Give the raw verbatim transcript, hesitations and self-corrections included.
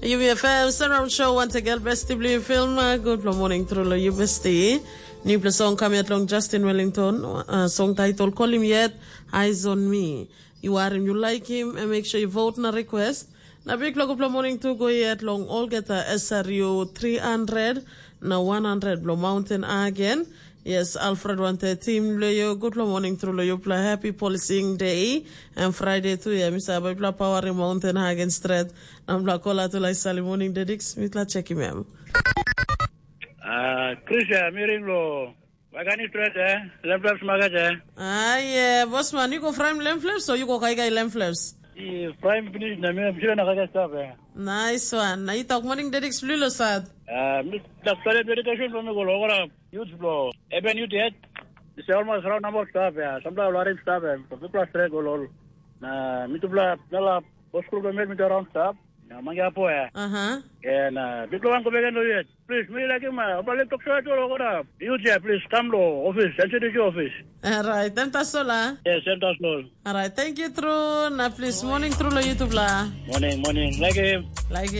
Yumi F M Surround Show once again, besti bilong film. Uh, good morning, true love you, besti. New plus song coming out long Justin Wellington. Uh, song title Call Him Yet, Eyes on Me. You are him, you like him, and make sure you vote na request. Na big love, good morning to go yet long Olgeta S R U three hundred na one hundred bilong Mountain again. Yes, Alfred wante team lo yo, good morning through lo yo, pla happy policing day and Friday too. Yeah, Mr. Abla power in Mountain Hagen Strat. Nambla kola tu lai sali morning dedix mitla check him em. Ah, Chris ya, miring lo. Wagani strat ya, left left smagat ya. Ah, yeah, boss man, you go frame lamb flaps or you go kai kai lamb flaps? I frame finish na mi sila na kaja stop ya. Nice one. Na you talk morning dedix lilo sad. Ah, mi tak sale dedication pa mi go lo kora. Youth blo. Eben youth yet. It's almost around number stop ya. Samla larim stop ya. People are straight go lol. Na mi tu bla nala boss group made me around stop. Na mangi apo ya. Uh-huh. And uh, big one go back and do it. Please, mi like him. Uh, but let's talk short or what up. You there, please come to office. N C D C office. All right, then that's all. Ah. Yes, and that's all. All right, thank you, True. Na please, morning, True, lo YouTube la. Morning, morning. Like him. Like him.